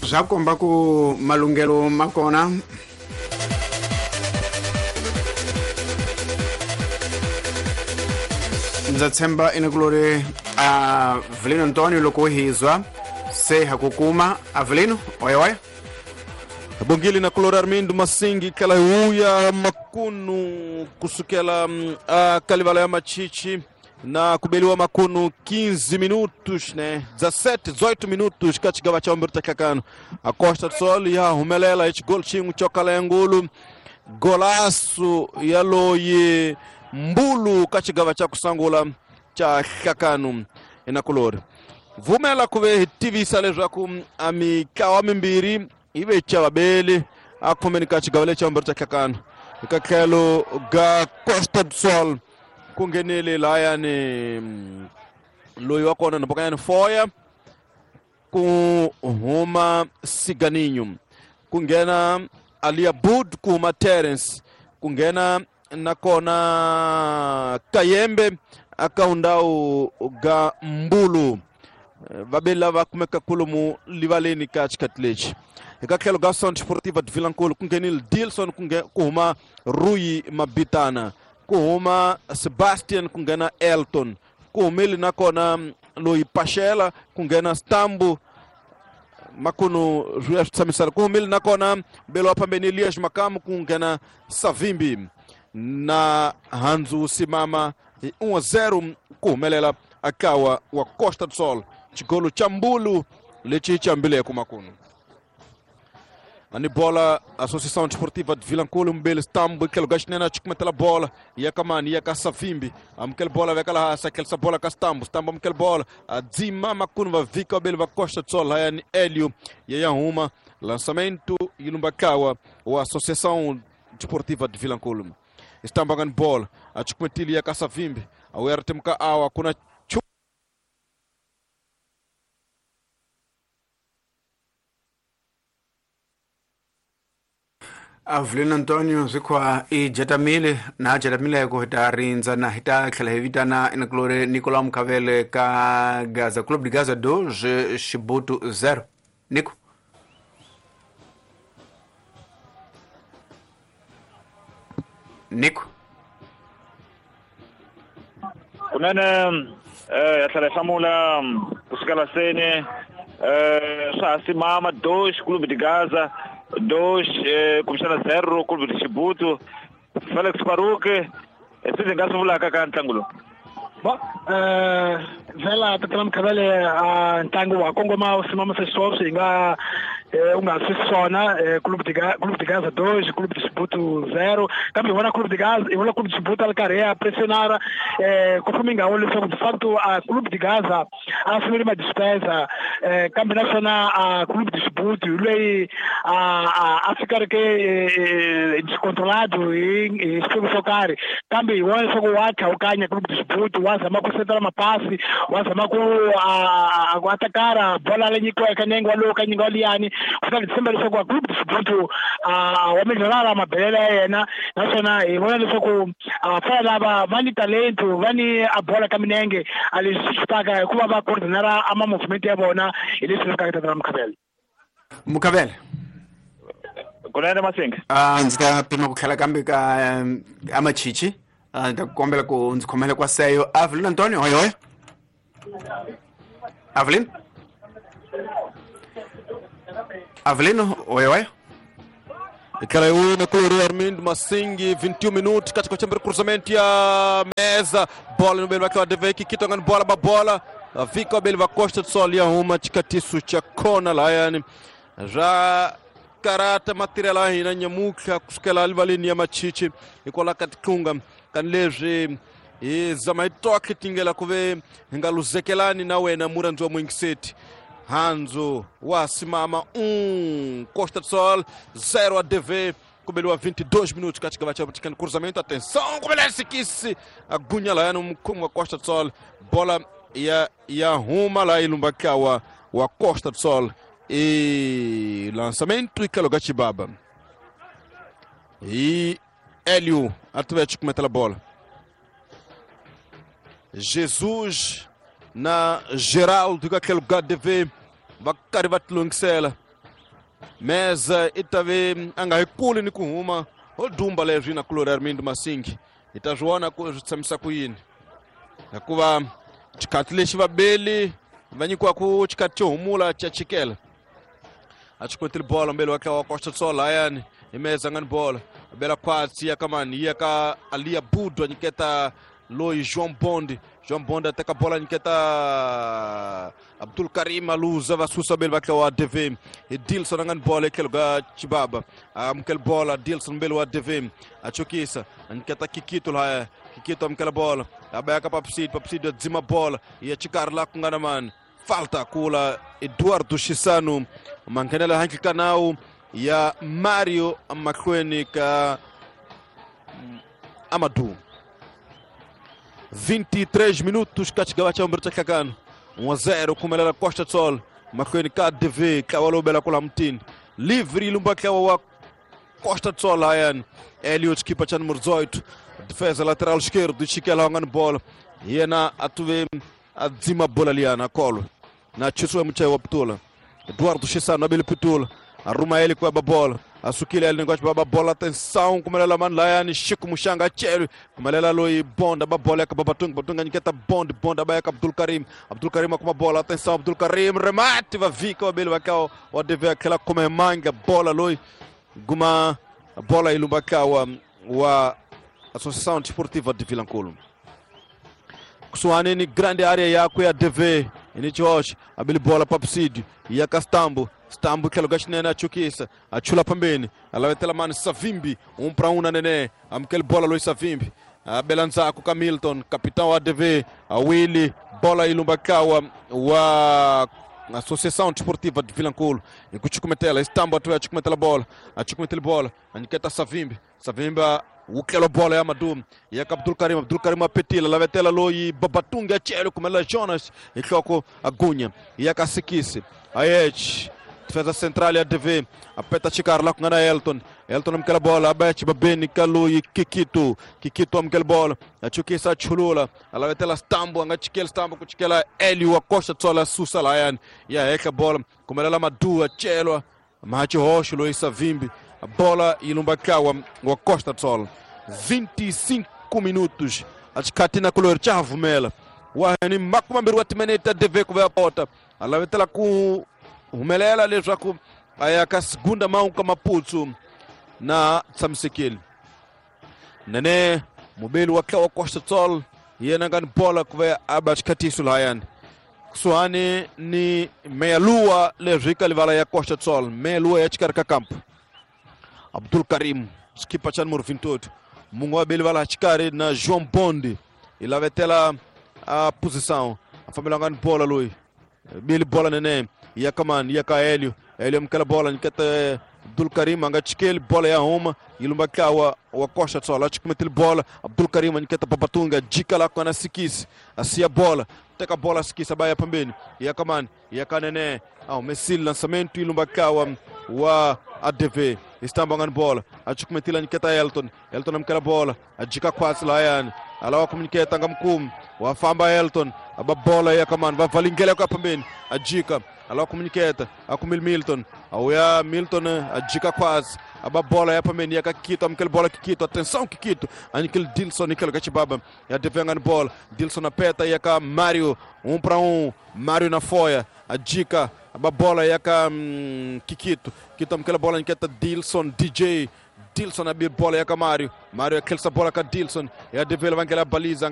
Swa komba ku malunghelo ma kona. Ndza tshemba inakulori Avelino Antonio loko hizwa se ha ku kuma Avelino oya oya. Bongile na kulori Armindo Masingi tlhela hi wuya makunu kusukela a kalivala ya Machichi na kubeliwa makunu 15 minutos, né? 17, 18 minutos ka xigava xa vumbirhi ta nhlakano. A Costa do Sol ya humelela hi xigolo xin'we xo kala ya ngulu, golaço ya loyi Mbulu ka xigava xa ku sungula xa nhlakano. Inakulori vumela ku ve hi tivisa leswaku a mitlawa mimbirhi yi ve chavabeli a khomeni ka xigava lexi xa vumbirhi xa nhlakano. Eka tlhelo ga Costa do Sol ku nghenile lahayani loyi wa kona nambokanyani Foya, ku huma Siganinho, ku nghena Alia Bud, ku huma Terence, ku nghena nakona Kayembe aka undhawu ga Mbulu. Vabeli lava kumeka kolomu livaleni ka xikhathi lexi. Eka tlhelo ga Centro Sportiva de Vilankulu ku nghenile Dilson, ku huma Rui Mabitana, ku huma Sebastian, ku nghena Elton, ku humile nakona loyi Pashela, ku nghena Stambu. Makunu swi ya swi tshamisana. Ku humile nakona mbelo wa phambeni Elias Makamu, ku nghena Savimbi na Hanzu Simama. Hi 1-0 ku humelela akawa wa Costa do Sol, xigolo xa Mbulu lexi xi ambileke makunu. Ani bola Associação Desportiva de Vilankulo, mbele Stambu tlhelo ga xinene a cukumetela bola ya ka mani, ya ka Savimbi, amukela bola veka laha hansi, a tlherisa bola ka Stambu, Stambu amukela bola a dzima makunu, va vhika vabeli va Costa do Sol lahayani. Elio ya ya huma lançamento yi lumba kawa wa Associação Desportiva de Vilankulo. Stambu angani bola a cukumetile ya ka Savimbi, a wuya ri temuka awa kuna. Avelino Antonio swi khwa i jetamile na jetamileko hi ta rindza na hi ta tlhela hi vitana inakulori Nicolau Mukhavele ka Gaza Club de Gaza 2 Xibutu 0. Nico. Nico. Kunene ya tlhela hi hlamula kusukela seni swa ha simama 2 Clube de Gaza 2 kumbexana 0 Clube de Xibutu. Felix Faruque, swi ndzi nga swi vulaka ka ntlangu lowu? Bo vhela tatana Mukhavele, a ntlangu wa kongoma wu simama sweswo hi nga u nga swi swona Clube de Clube de Gaza 2 Clube de Xibutu 0, kambe hi vona Clube de Gaza, hi vona Clube de Xibutu a ri karhi ya pressionara ku fuma ngawo leswaku de facto a Clube de Gaza a sungule ma dispensa, kambe naswona a Clube de Xibutu hi loyi a fika ri ke descontrolado hi xiphemu xo karhi, kambe hi vona leswaku wa tlhawukanya Clube de Xibutu, wa zama ku setela mapasi, wa zama ku ku atakara bola leyi nyikiweke nenge walowu ka nyinga waliyani. Kutani hi tshemba leswaku Clube de Xibutu wa melhorara mabelelo ya yena, naswona hi vona leswaku vafana lava va ni talento, va ni a bola ka minenge, a leswi swi xitaka hikuva va coordinara a ma movement ya vona hi leswi lavekaka. Tatana Mukhavele. Mukhavele. Kunene Masinga. Ndzi ta pima ku tlhela kambe ka amachichi, ndzi ta kombela ku ndzi khomela kwa seyo. Avelino Antonio hoy hoy. Avelino. Avelino hoy hoy. Tlhela hi wina kulori Armindo Masingi 21 minutos katika chambere, cruzamento ya meza bola no belo va deveki kitongani bola ba bola vika belo va Costa do Sol ya huma xikatiso xa kona lahayani swa karata matirhelo ya hina nyamutlha kusukela livaleni ya Machichi hikwalaho ka titlunga kani leswi hi zama hi tokhe tingela ku ve hi nga luzekelani na wena murhandzi wa muyingiseti. Hanzo wa simama Costa do Sol 0 a DV, kubeliwa 22 minutos katika xigava xa vutikani. Cruzamento, atenção, kubelesi kisi agunya lahayani mukhomi wa Costa do Sol, bola ya huma la ilumba kawa wa Costa do Sol e lançamento e kaloga Chibaba e Hélio Atlético metela bola. Jesus na Geraldo aquele lugar de ver va karhi va tilungisela. Meza i ta ve a nga hi kuli ni ku huma ho dumba leswi na kulori Armindo Masingi hi ta swi vona ku swi tshamisa ku yini hikuva xikhathi lexi vabeli va nyikiwaku xikhathi xo humula xa chikela a xi kotile bolo mbeli wa tlawa Costa Sol layani hi Meza nga ni bolo bela khwatsi ya ka mani ya ka Alia Budu a nyiketa loyi João Bond. João Bond a teka bola nyiketa Abdul Karim aluza va susa beli va tlawa DV hi Dilson a nga ni bola etlhelo ka Chibaba amukela bola Dilson mbeli wa DV a chukisa a nyiketa Kikito lahaya Kikito amukela bola a ba ya ka Papsidi Papsidi a dzima bola ya xikarhi laha ku nga na mani falta kula Eduardo Chisano manghenela handle ka nawu ya Mario mahlweni ka Amadou. 23 minutos ka xigava xa vumbirhi xa nhlangano 1-0 khumelela Costa Sol mahlweni ka DV ntlawa lowu bela kula mutini livre yi lumba ntlawa wa Costa Sol layani Elio xikipa xa numero 18 defesa lateral esquerdo chikela wa nga ni bola yena a tuve a dzima bola liyana a kolo na chusiwa muchayi wa pitula Eduardo Chisano abele pitula a ruma ele ku ba bola a sukile ele negócio baba bola atenção kumelela mani layani Chico Muxanga achele kumelela loyi Bonda ba bola ya Babatunga Batunga nyiketa Bond Bond abaya ka Abdul Karim Abdul Karim akuma bola atenção Abdul Karim remate va vika wabele vakao wa DV akela kuma manga bola loyi guma bola ilumba kawa wa Associação Desportiva de Vilanculo kusuhani ni grande área yakwe ya DV inichihoxe abili bola papsidi ya Kastambo Stambo tlhelo ka xinene a chukisa a chula phambeni a lavetela mani Savimbi 1 para 1 na Nene amukeli bola loyi Savimbi a bela ndzhaku ka Milton capitão wa DV a Willy bola yi lumba kawa wa Associação Desportiva de Vilanculo hi ku chukumetela Stambo a tuya chukumetela bola a chukumetela bola a nyiketa Savimbi Savimbi wukelo bola ya Madum ya Abdul Karim Abdul Karim apetila lavetela loyi Babatunga achele kumela Jonas hi nhloko agunya ya Kasikisi Ayech defesa central ya DV apeta xikarhi la ku nga na Elton Elton amukela bola a ba Chibabeni ka loyi Kikito Kikito amukela bola a chukisa a chulula a lavetela Stambo a nga chikeli Stambo ku chikela Elio wa Costa Tsola susa layani ya hehla bola kumelela Madu a celwa mahachihoxo loyi Savimbi a bola yi lumba kawa wa Costa Sol 25 minutos a xikhathi na kulori xa ha vumela wa ni makume mambirhi wa timinete DV ku va pota a lavetela ku humelela leswaku a ya ka segunda mão ka Maputsu na tshamisekile nene mubeli wa tlawa Costa Sol yena nga ni bola ku va a ba xikhatiso lahayani kusuhani ni meyalua leswi ka livala ya Costa Sol meyalua ya xikarhi ka kampo Abdul Karim xikipa xa numero 28 mungu wa beli vala xikarhi na João Bondi i lavetela a posição a fambela nga ni bola loyi beli bola nene ya kamani ya ka Helio Helio amukela bola nyiketa Abdul Karim a nga chikeli bola ya huma yi lumba tlawa wa Costa Sol a chikumetile bola Abdul Karim a nyiketa Babatunga jika la kona Sikisi a siya bola teka bola Sikisi a ba ya pambeni ya kamani ya ka Nene au Messi lançamento yi lumba tlawa wa ADV Istamba nga ni bola a chikumetile a nyiketa Elton Elton amukela bola a jika khwatsi layani alawa kumnyiketa nga mukumi wa famba Elton aba bola ya kamani va valingela ku ya pambeni a jika alawa kumnyiketa a kumile Milton auya Milton a jika khwatsi aba bola ya pambeni ya ka Kikito amukela bola Kikito atenção Kikito a nyikile Dilson nyikelo ka Chibaba ya DV nga ni bola Dilson apeta ya ka Mario 1 para 1 Mario na foya a jika aba bola ya ka Kikito Kikito amukela bola nyiketa Dilson DJ Dilson abi bola ya ka Mario Mario akhelisa bola ka Dilson ya DV vangela baliza.